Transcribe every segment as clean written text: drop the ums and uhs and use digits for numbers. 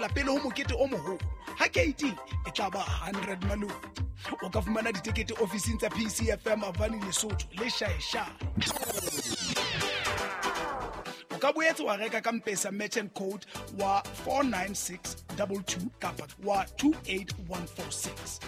feela pele ho mokete o moholo. Ha keiting e tla ba 100 maluti. O ka fumana ditekete ofising tsa PCFM Avani Lesotho le Shaeshae. O ka boetse wa reka ka Mpesa merchant code wa 49622 kapa wa 28146.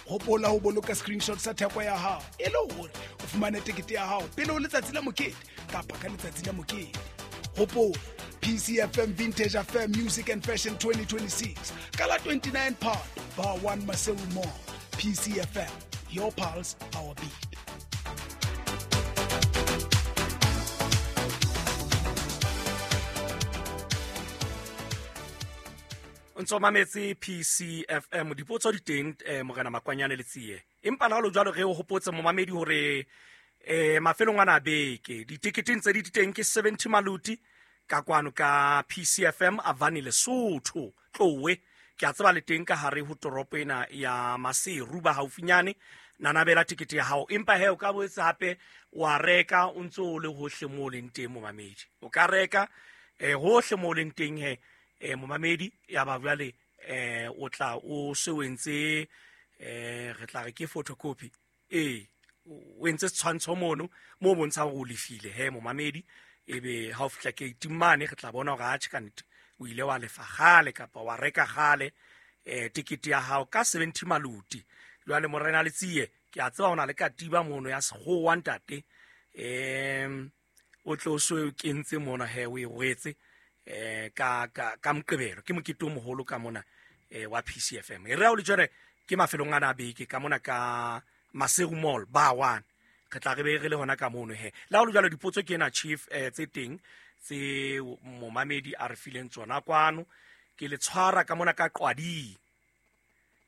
Hopola ho boloka screenshot sa theko ya hao e le hore o fumane tekete ya hao pele ho letsatsi la mokete kapa ka letsatsi la mokete. Hopola PCFM Vintage Affair Music and Fashion 2026 ka la 29 Phato Bar 1 Maseru Mall. PCFM, your pulse, our beat. O ntso mametse PCFM. Dipotso di teng, morena Makwanyane le Tsie, empa le ha lo jwalo re o hopotse momamedi hore mafelong ana a beke diteketeng tse di teng ke 70 maluti ka kwano ka PCFM Avani Lesotho. Tlowe ke a tseba le teng ka hare ho toropo ena ya Maseru ba haufinyane, nanabela tekete ya hao. Empa he o ka boetse hape wa reka o ntse o le hohle moo o leng teng momamedi. O ka reka hohle moo o leng teng he momamedi, ya ba jwale o tla o se o entse re tla re ke photocopy, o entse setshwantsho mono mo bontshang hore o lefile he momamedi. Ebe ha o fihla gate mane re tla bona hore atjhe ka nnete o ile wa lefa kgale kapa wa reka kgale tekete ya hao ka 70 maluti. Jwale morena Letsie, ke a tseba o na le katiba mono ya sekgowa ntate, o tlo so o kentse mona he o e rwetse ka Moqebelo ke mokete o moholo ka mona wa PCFM. E re ha o le jwale ke mafelong ana a beke ka mona ka Maseru Mall Bar 1, re tla re be re le hona ka mono he. Le ha o le jwalo dipotso ke ena chief tse teng tse momamedi a re fileng tsona kwano. Ke le tshwara ka mona ka Qwading,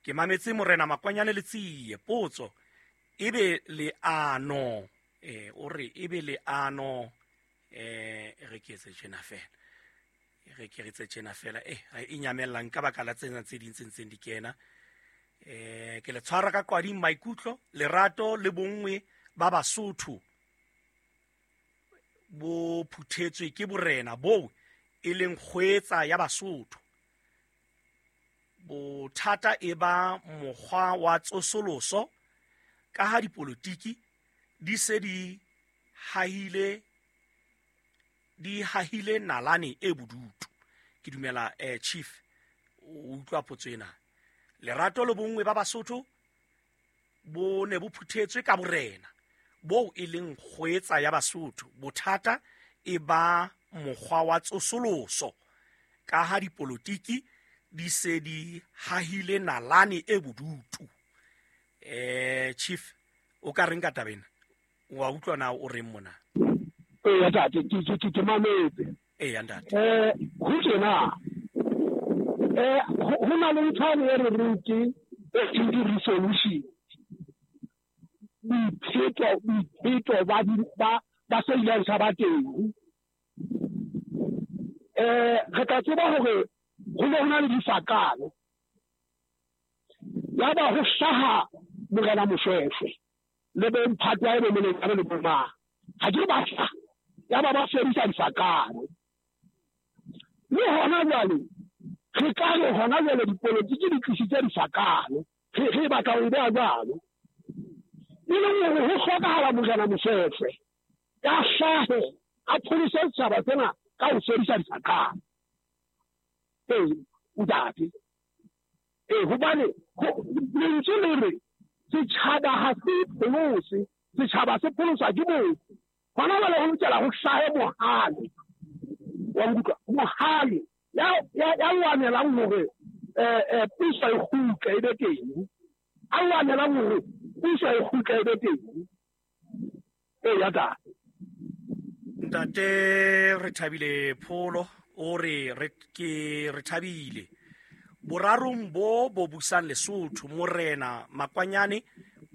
ke mametse morena Makwanyane le Tsie. Potso ebe leano o re ebe leano re ke etse tjena fela, re ke re tse tjena fela e nyamellang ka baka la tsena tse ding tse ntseng di kena. Ke le tshwara ka Qwading. Maikutlo, lerato le bonngwe ba Basotho bo phuthetswe ke borena boo e leng kgwetsa ya Basotho. Bothata e ba mokgwa wa tsosoloso ka ha dipolotiki di se di hahile nalane e bodutu. Ke dumela chief o utlwa potso ena. Lerato le bonngwe ba Basotho bo ne bo phuthetswe ka borena boo e leng kgwetsa ya Basotho. Bothata e ba mokgwa wa tsosoloso ka ha dipolotiki di se di hahile nalane e bodutu. Chief o ka reng ka taba ena? Wa utlwa na o reng mona? Eya ntate, ke mametse. Eya ntate. Ho tjena ho na le ntho e re reng ke resolution. Boipheto ba se ileng sa ba teng. Re tla tseba hore ho ne ho na le difakano. Ya ba ho hlaha morena Moshweshwe le bomphato wa e bo le bomang. Ha ke ba hlaha, ya ba ba fedisa difakano. Le hona jwale re ka re hona jwale dipolotiki di tlisitse difakano. Re batla ho e beha jwalo. E leng hore ho hlokahala morena Moshweshwe ya hlahe a pholose setjhaba sena ka ho fedisa difakano. Ntate. Hobane lentswe le re setjhaba ha se pholose, setjhaba se pholoswa ke motho. Hona jwale ho lokela ho hlahe mohale. Wa nkutlwa? Mohale ya lwanelang hore puso e kgutle e be teng. A lwanelang hore puso e kgutle e be teng. Eya ntate. Ntate re thabile Pholo o re ke re thabile. Borarong bo bo busang Lesotho, morena Makwanyane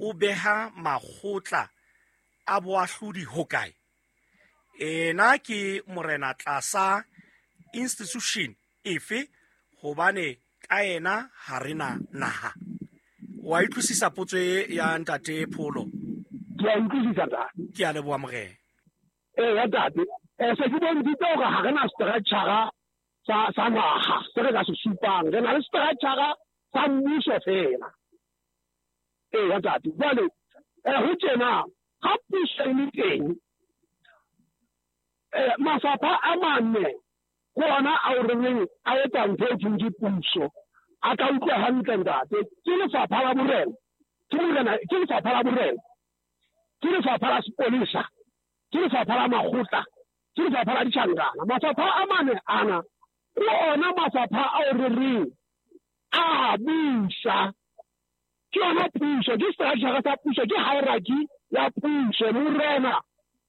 o beha makgotla a boahlodi hokae? Ena ke morena tlasa institution efe, hobane ka yena ha re na naha? Wa utlwisisa potso e ya ntate Pholo? Ke a utlwisisa ntate. Ke a leboha morena. Eya ntate. Se ke bontshitse hore ha re na structure sa naha se re ka se supang. Re na le structure sa mmuso fela. Eya ntate, jwale ho tjena ha puso e le teng, mafapha a mane ke ona ao re reng a etsa ntho e thweng ke puso. A ka utlwa hantle ntate, ke lefapha la borena, ke lefapha la borena, ke lefapha la sepolesa, ke lefapha la makgotla, ke lefapha la ditjhankana. Mafapha a mane ana ke ona mafapha ao re reng a busa. Ke yona puso, ke structure sa puso, ke hierarchy ya puso. Morena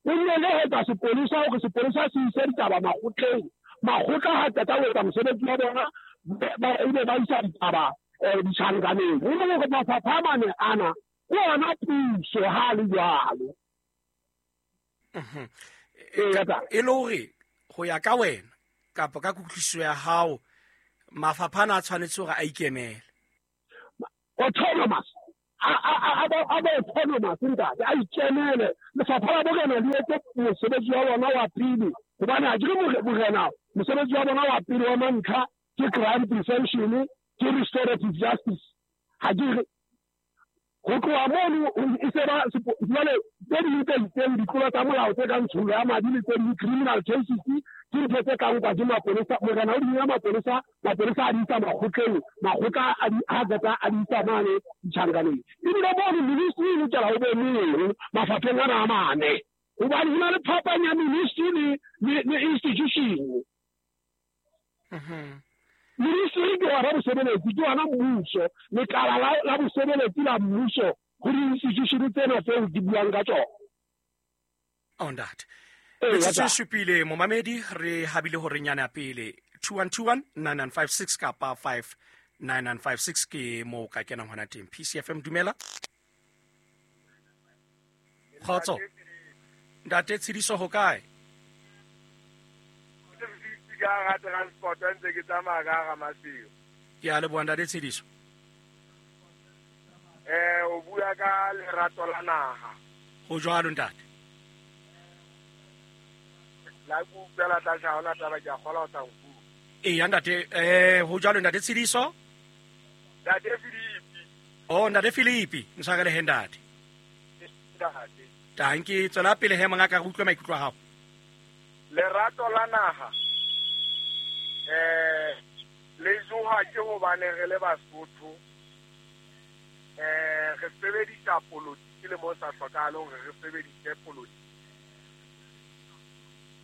o nne le ho etsa sepolesa hore sepolesa se ise ditaba makgotleng. Makgotla ha qeta ho etsa mosebetsi wa bona, ebe ba isa ditaba ditjhankaneng. Ho le hore mafapha a mane ana ke ona puso ha le jwalo. E le hore ho ya ka wena kapa ka kutlwisiso ya hao, mafapha ana a tshwanetse hore a ikemele. Autonomous, a ba autonomous ntate, a ikemele. Lefapha la borena le etse mosebetsi wa bona wa pele, hobane ha ke re borena mosebetsi wa bona wa pele wa mantlha ke crime prevention, ke restorative justice. Ha ke re ho tloha mono e se ba jwale tse ding tse itseng ditlolo tsa molao tse kang tsholo ya madi le tse ding criminal cases ke ntho tse ka nkwa ke mapolesa. Morena o di nka mapolesa, mapolesa a di isa makgotleng, makgotla a di a qeta a di isa mane ditjhankaneng. Ebile mono ministry e lokela ho be mong mafapheng ana a mane, hobane ho na le phapang ya ministry le institution. Ministry ke hona bosebeletsi, ke hona mmuso, lekala la bosebeletsi la mmuso ho di-institution tsena tseo ke buang ka tsona. Oh, ntate. Metsotso e supile momamedi, re habile hore nyane ya pele 2121 9956 kapa 59956 ke moo ka kenang hona teng. PCFM, dumela. Kgotso. Ntate Tshidiso, ho kae? Ka hara transport ntse ke tsamaya ka hara Maseru. Ke a leboha ntate Tshidiso. O bua ka lerato la naha. Ho jwalo ntate. La ke utlwela tlase, ha hona taba, ke a kgolwa o sa nkutlwe. Eya ntate, ho jwalo ntate Tshidiso? Ntate Philipi. Oh, ntate Philipi, ntshwarele he ntate. Ntate. Tanki, tswela pele he mongaka, re utlwe maikutlo a hao. Lerato la naha le joha ke hobane re le Basotho, re sebedisa politiki le mo sa hlokahale hore re sebedise politiki.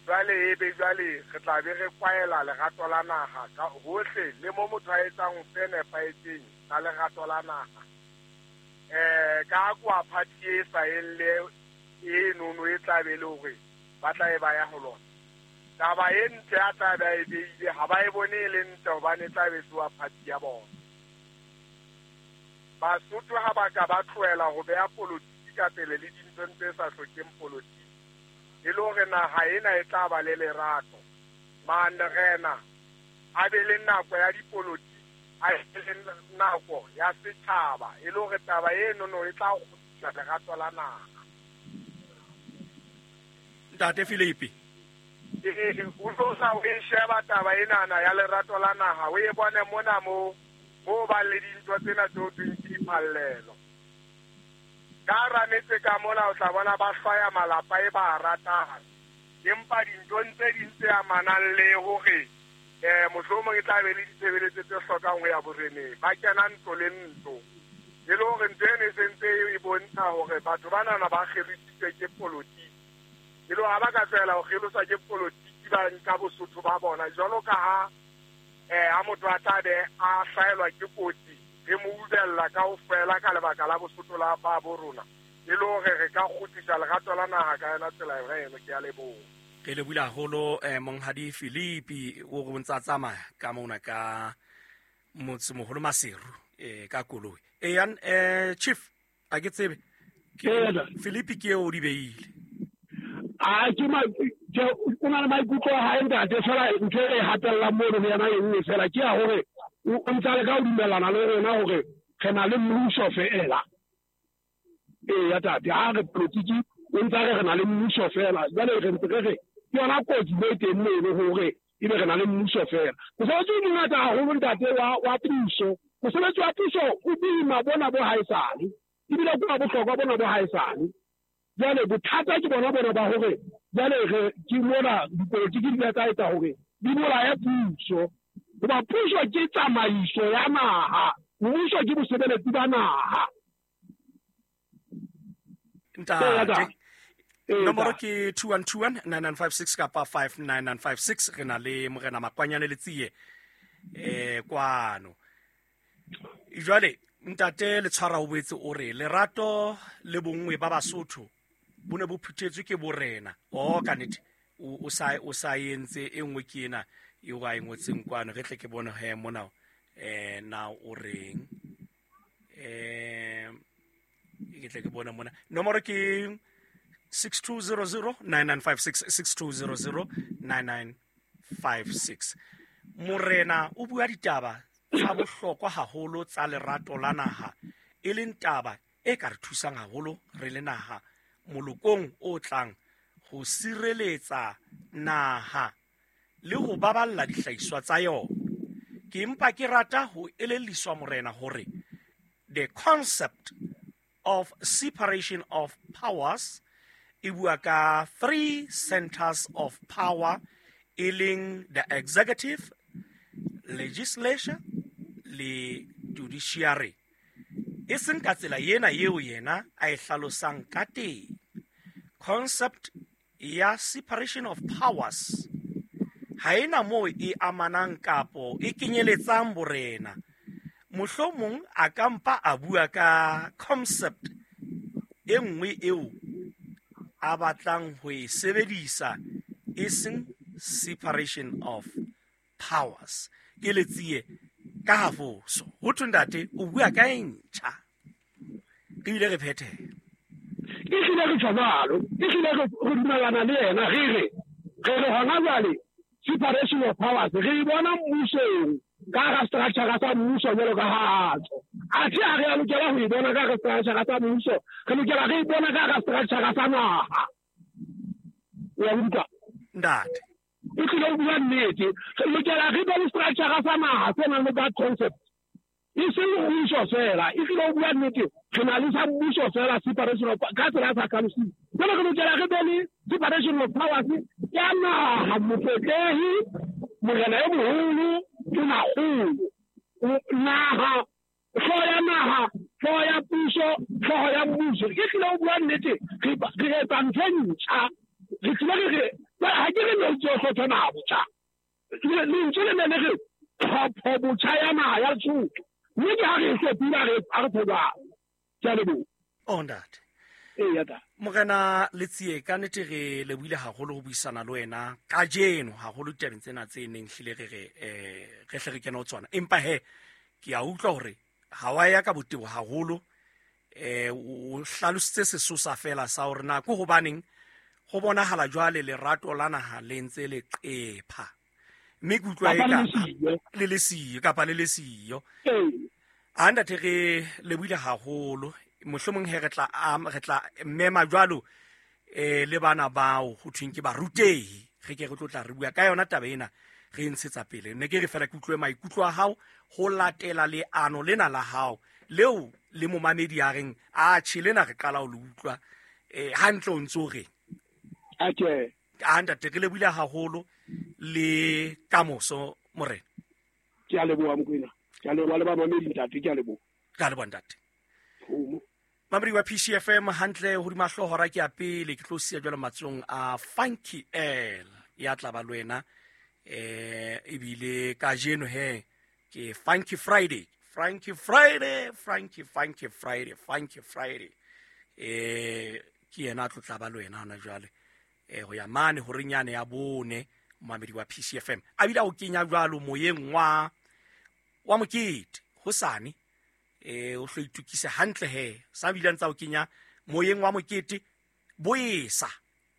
Jwale ebe jwale re tla be re kwaela lerato la naha ka hohle le mo motho a etsang se nepahetseng ka lerato la naha. Ka kwa party e sa eng le e nono e tla be le hore ba tla e ba ya ho lona. Taba e ntle a tla be a e beile, ha ba e bone e le ntle hobane e tla be se wa party ya bona. Basotho ha ba ka ba tlohela ho beha politiki ka pele le dinthong tse sa hlokeng politiki, e le hore naha ena e tla ba le lerato. Marena a be le nako ya dipolotiki, a be le nako ya setjhaba, e le hore taba enono e tla kgutlisa lerato la naha. Ntate Philipi. O tlo sa o e sheba taba enana ya lerato la naha, o e bone mona mo ba le dintho tsena tse ho thweng ke diphallelo. Ka hara metse ka mona o tla bona ba hlwaya malapa e ba a ratang, empa dinthong tse ding tse amanang le hore mohlomong e tla be le ditshebeletso tse hlokang ho ya boreneng, ba kena ntlo le ntlo. E le hore ntho eno e sentse e bontsha hore batho banana ba kgelositswe ke politiki. E le hore ha ba ka tlohela ho kgeloswa ke politiki, ba nka Bosotho ba bona jwalo ka ha ha motho a tla be a hlahelwa ke kotsi, re mo ubella kaofela ka lebaka la Bosotho la ba bo rona, e le hore re ka kgutlisa lerato la naha ka yona tsela yona eno. Ke a leboha. Re lebohile haholo monghadi Philipi, o re o ntsa tsamaya ka mona ka motsemoholo Maseru ka koloi. Eya, chief, a ke tsebe. Philipi ke eo o di beile. A ke ma ke o na le maikutlo a hae ntate, fela ntho e hatellang mono ho yena e nngwe fela ke ya hore o ntsa le ka ho dumellana le rona hore re na le mmuso feela. Eya tate, ha re politiki o ntsa re re na le mmuso fela. Jwale re ntse re re ke yona kotsi mo e teng mono hore Ebe re na le mmuso fela. Mosebetsi o mongata haholo ntate wa puso. Mosebetsi wa puso o boima bona bo haesale. Ebile ke wa bohlokwa bona bo haesale. Jwale bothata ke bona bona ba hore jwale re ke mona dipolotiki di tla etsa hore di bolaye puso. Hoba puso ke tsamaiso ya naha, mmuso ke bosebeletsi ba naha. Ntate, nomoro ke 2121 9956 kapa 59956. Re na le Morena Makwanyane Letsie kwano. Jwale ntate Letshwara o boetse o re lerato le bonngwe ba Basotho bo ne bo phuthetswe ke borena. O ka nnete o sa entse e nngwe ke ena eo a e ngotseng kwano. Re tle ke bone he mona na o reng. Ke tle ke bone mona. Nomoro ke 6200 9956 6200 9956. Morena o bua ditaba tsa bohlokwa haholo tsa lerato la naha, e leng taba e ka re thusang haholo re le naha molokong o tlang ho sireletsa naha le ho baballa dihlahiswa tsa yona. Ke mpa ke rata ho elelliswa morena hore the concept of separation of powers e bua ka three centers of power, e leng the executive, legislature le judiciary. E seng ka tsela ena eo yena a e hlalosang ka teng. Concept ya separation of powers ha ena moo e amanang kapo e kenyeletsang borena. Mohlomong a ka mpa a bua ka concept e nngwe eo a batlang ho e sebedisa, e seng separation of powers. Ke Letsie ka hafoso. Ho thwe ntate o bua ka e ntjha, ebile re phethe. E hlile re tjho jwalo, e hlile re dumellana le yena. Re re hona jwale separation of powers re e bona mmusong ka hara structure sa mmuso jwalo ka ha tjo. Athe ha re a lokela ho e bona ka hara structure sa mmuso, re lokela re e bona ka hara structure sa naha. Wa utlwa ntate? E tlile ho bua nnete. Re lokela re be le structure sa naha se nang le that concept, e seng mmuso fela. E tlile ho bua nnete, re na le sa mmuso fela separation of ka tsela ya sa hlalosing. Jwale re lokela re be le separation of powers ya naha, motsetlehi, morena e moholo, tonakgolo, naha, hlooho ya naha, hlooho ya puso, hlooho ya mmuso. E tlile ho bua nnete, re etsa ntho e ntjha. Re tlile re re ha ke re lentswe hlopha naha botjha. Lentswe le ne le re tlhopho botjha ya naha ya Lesotho. Mme ke ha re hlophile ha re jwalo. Ke a leboha. O ntate. Eya ta. Morena Letsie, ka nnete re lebohile haholo ho buisana le wena kajeno, haholo ditabeng tsena tse neng hlile re re re hle re kene ho tsona. Empa he ke a utlwa hore ha wa ya ka botebo haholo, o hlalositse sesosa fela sa hore na ke hobaneng ho bonahala jwale lerato la naha le ntse le qepha. Mme ke utlwa eka le le siyo kapa le le siyo. A ntate re lebohile haholo. Mohlomong he re tla mema jwalo le bana bao ho thweng ke barutehi. Re ke re tlo tla re bua ka yona taba ena, re ntshetsa pele. Ne ke re fela ke utlwe maikutlo a hao ho latela leano lena la hao leo le momamedi a reng a tjhe lena re qala ho le utlwa hantle o ntso reng. Okay. A ntate re lebohile haholo le kamoso morena. Ke a leboha Mokoena. Ke a leboha le bamamedi ntate, ke a leboha. Ke a leboha ntate. Mamedi wa PCFM hantle hodima hlooho hora ke ya pele, ke tlo siya jwalo matsong a Funky L ya tla ba le wena. Ebile kajeno he ke Funky Friday, Funky Friday, Funky Funky Friday, Funky Friday. Ke yena a tlo tla ba le wena hona jwale. Ho ya mane horeng yane ya bone mamedi wa PCFM. A bile o kenya jwalo moyeng wa mokete hosane. O hlo itukise hantle he sa bile ntsa o kenya moyeng wa mokete boesa.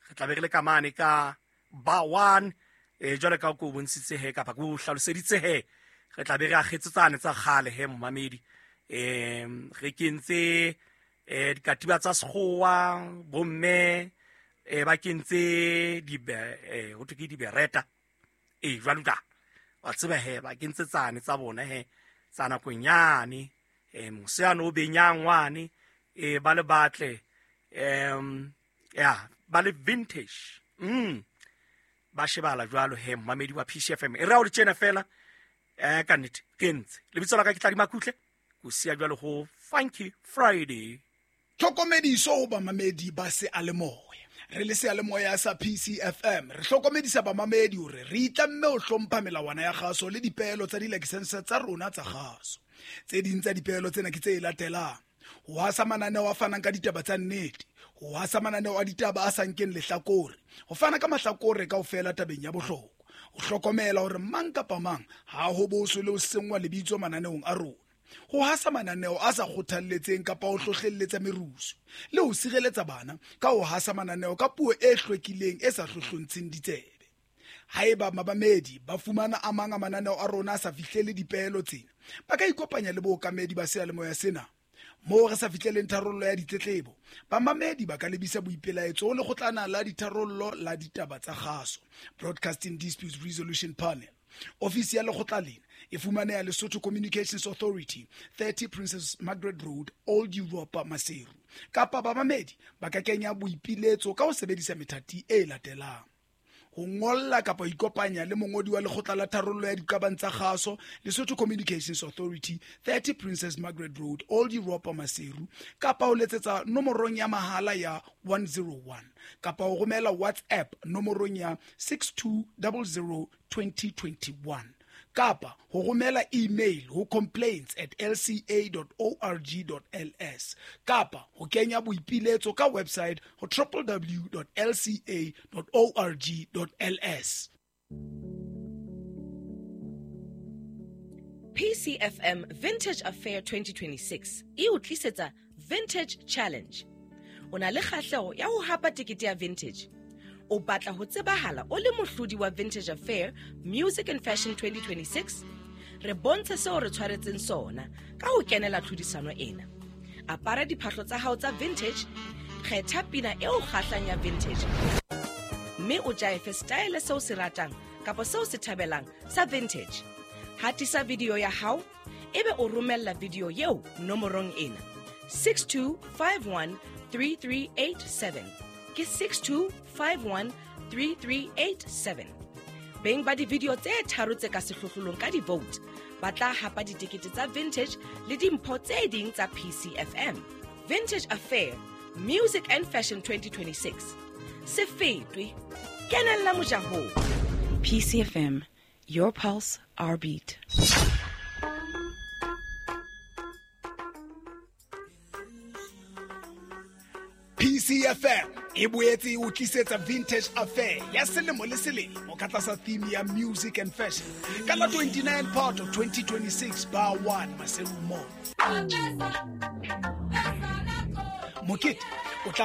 Re tla be re le ka mane ka ba 1 jwale ka ko bontshitse he kapa ko hlaloseditse he. Re tla be re akgetse tsane tsa kgale he momamedi. Re kentse dikatiba tsa sekgowa bomme ba kentse di ho thwe ke dibereta. Ee, jwalo jwalo wa tseba he ba kentse tsane tsa bona he tsa nakong yane, mose yane o benyang wane, ba le batle, ya ba le vintage. Ba shebala jwalo he momamedi wa PCFM. E re ha o le tjena fela, ka nnete ke ntse lebitso la ka ke Tladi Makutle, ko siya jwalo ho Funky Friday. Tlhokomediso ho bamamedi ba seyalemoya. Re le seyalemoya sa PCFM re hlokomedisa bamamedi hore re itlamme ho hlompha melawana ya kgaso le dipeelo tsa dilakesense tsa rona tsa kgaso. Tse ding tsa dipeelo tsena ke tse latelang: ho hasa mananeo a fanang ka ditaba tsa nnete, ho hasa mananeo a ditaba a sa nkeng lehlakore, ho fana ka mahlakore kaofela tabeng ya bohlokwa, ho hlokomela hore mang kapa mang ha ho boswe le ho senngwa lebitso mananeong a rona, ho hasa mananeo a sa kgothalletseng kapa ho hlohlelletsa merusu, le ho sireletsa bana ka ho hasa mananeo ka puo e hlwekileng e sa hlohlontsheng ditsebe. Haeba mamamedi ba fumana a mang a mananeo a rona a sa fihlele dipeelo tsena, ba ka ikopanya le bookamedi ba seyalemoya sena. Moo re sa fihleleng tharollo ya ditletlebo, bamamedi ba ka lebisa boipelaetso ho lekgotlana la ditharollo la ditaba tsa kgaso, Broadcasting Disputes Resolution Panel. Ofisi ya lekgotla lena e fumaneha Lesotho Communications Authority, 30 Princess Margaret Road, Old Europa, Maseru. Kapa bamamedi ba ka kenya boipiletso ka ho sebedisa methati e latelang: ho ngolla kapa ho ikopanya le mongodi wa lekgotla la tharollo ya diqabang tsa kgaso, Lesotho Communications Authority, 30 Princess Margaret Road, Old Europa, Maseru, kapa ho letsetsa nomorong ya mahala ya 101, kapa ho romela WhatsApp nomorong ya 6200 2021, kapa ho romela email ho complaints@lca.org.ls, kapa ho kenya boipiletso ka website ho www.lca.org.ls. PCFM Vintage Affair 2026 e o tlisetsa Vintage Challenge. O na le kgahleho ya ho hapa tekete ya vintage? O batla ho tsebahala o le mohlodi wa Vintage Affair Music and Fashion 2026? Re bontshe seo re tshwaretseng sona ka ho kenela tlhodisano ena. Apara diphahlo tsa hao tsa vintage, kgetha pina eo kgahlang ya vintage, mme o jaefe style seo se ratang kapa seo se thabelang sa vintage. Hatisa video ya hao, ebe o romella video eo nomorong ena: 62513387. Ke 62513387. Beng ba di-video tse tharo tse ka sehlohlolong ka di-vote ba tla hapa ditekete tsa vintage le dimpho tse ding tsa PCFM. Vintage Affair Music and Fashion 2026, se fetwe, kenella mojahong. PCFM, your pulse, our beat. PCFM e boetse e o tlisetsa Vintage Affair ya selemo le selemo ka tlasa theme ya Music and Fashion ka la 29 Phato 2026, Bar 1, Maseru Mall. Mokete o tla